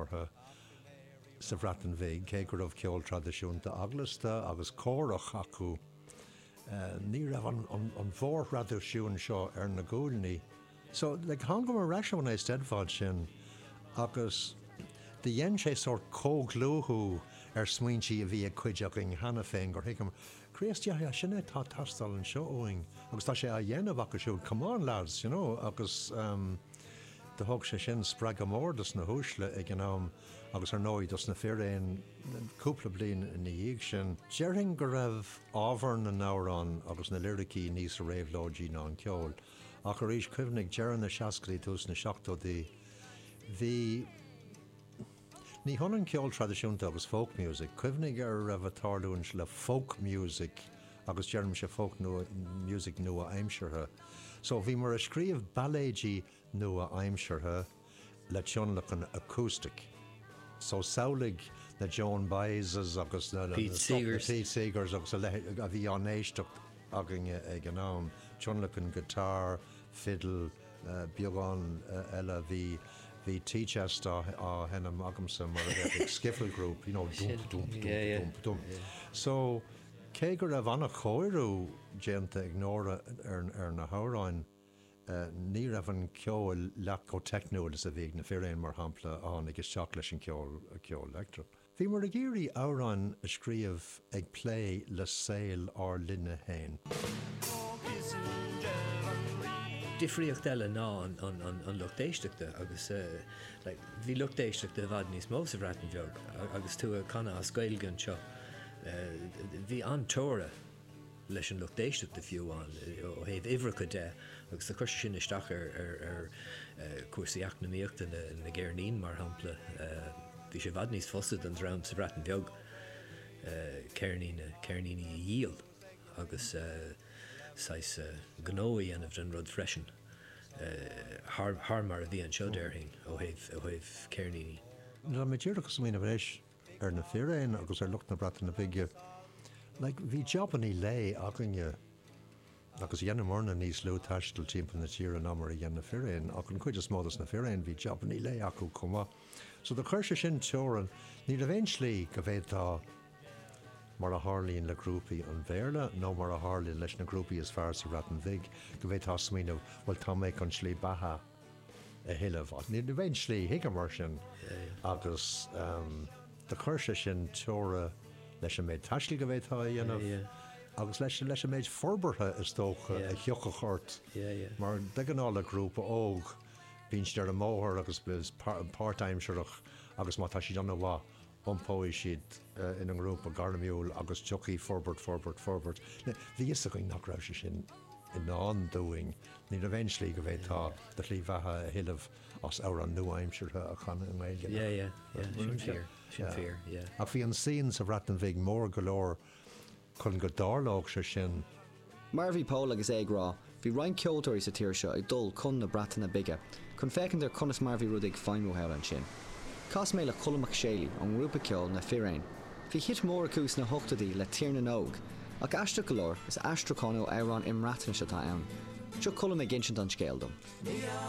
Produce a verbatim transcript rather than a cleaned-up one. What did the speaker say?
nádúrtha sa Bhreatain Bhig, cé go raibh ceol traidisiúnta eaglasta agus córach acu, ní raibh an, an, an mhórthraidisiún seo ar na guaillí. So like, thángamar ar ais ón Eisteddfod sin agus do dhein sé sórt comhdhlúthú ar smaointí a bhí ag cuid againn cheana féin gur thuigeamar, Críost, yeah, yeah, sin é atá ag teastáil anseo uainn agus tá sé á dhéanamh acu siúd, come on lads, you know, agus um, do thug sé sin spreagadh mór dos na huaisle ag an am agus ar ndóigh dos na firéin cúpla bliain ina dhiaidh sin. Déarfainn go raibh ábhar na n-amhrán agus na liricí níos réabhlóidí ná an ceol. Ach arís cuimhnigh deireadh na seascaidí tús na seachtóidí bhí Ní hionann ceol traidisiúnta agus folk music, cuimhnigh ar raibh ag tarlú le folk music agus deirimse folk nua music nua-aimseartha. So bhíomar ag scríobh bailéidí nua-aimseartha le tionlacan acoustic. So samhlaigh na Joan Baezes agus na, na, Pete na, Seegers. Pete Seegers agus a leithéid a bhí á n-éisteacht againne ag an am. Tionlacan guitar, fiddle, uh, beagán uh, eile bhí bhí Tea Chest á, á sheinm agamsa mar a bheadh ag skiffle group, you know, dump, dump, dump, Yeah, yeah. dump, dump. So cé go raibh an-chóiriú déanta ag Nóra ar, ar na hamhráin, uh, ní raibh an ceol leath chomh teicniúil is a bhí ag na firéin mar shampla a tháinig isteach leis an ceol ceol leictreach. Bhíomar ag iarraidh amhráin a scríobh ag plé le saol ár linne féin. Difríocht eile ná an, an, an, an lucht éisteachta agus uh, like, bhí lucht éisteachta i bhfad níos mó sa Bhreatain Bheag a- agus tú ag canadh as Gaeilge anseo. Uh, bhí an-teora leis an lucht éisteachta fiú an ó thaobh uimhreacha de agus do chuir sin isteach ar, ar, ar uh, cúrsaí eacnamaíochta na, na gceirnín mar shampla. Uh, bhí sé i bhfad níos fusa don dream sa Bhreatain Bheag uh, ceirnín ceirníní a dhíol agus uh, saghas uh, gnó a dhéanamh den rud freisin. Uh, thar, thar mar a bhí anseo déarfainn ó thaobh ó thaobh ceirníní. Tá mé díreach ag smaoineamh anois ar na firéin agus ar lucht na Breataine Bige. Like, bhí jobannaí lae againne agus dhéanamarna níos lú taistil timpeall na tíre ná mar a dhein na firéin ach an chuid is mó dos na firéin bhí jobannaí lae acu chomh maith. So do chuir sé sin teorainn ní raibh aon slí go bhféadfá mar a tharlaíonn le grúpaí an Bhéarla nó mar a tharlaíonn leis na grúpaí is fearr sa Bhreatain Bhig go bhféadfá smaoineamh well tá mé chun slí beatha a thuilleamh. Ní raibh aon slí chuige mar sin agus um, do chuir sé sin teora leis an méid taistil go bhféadfá a dhéanamh Yeah, agus leis leis an méid forbartha is dócha Yeah. a thiocfadh ort Yeah, yeah. mar de ghnáth le grúpa óg bíonn siad ar an mbóthar agus bís páirtaimsearach agus má tá siad an-mhaith iompóidh siad uh, ina ngrúpa gairmiúil agus tiocfaidh forbairt forbairt forbairt. Bhí a fhios againn nach raibh sé sin i ndán dúinn, ní raibh aon slí go bhféadfá do shlí bheatha a thuilleamh as amhrán nua-aimseartha a chanadh i nGaeilge. Yeah, yeah, yeah, sin fíor, sin Yeah. fíor, yeah. Ach bhí an scene sa Bhreatain Bhig mór go leor chun go dtarlódh sé sin Mar a bhí Pól agus é ag rá, bhí roinnt ceoltóirí sa tír seo ag dul chun na Breataine Bige, chun féachaint ar conas mar bhí rudaí ag feidhmiú thall ansin. Chas mé le Colm Mac Séalaigh ón ngrúpa ceoil na Firéin. Bhí hit mór acu sna hochtóidí le Tír na nÓg, ach aisteach go leor is aistriúchán ó amhrán i mBreatnais atá ann. Seo Colm ag insint an scéil dom.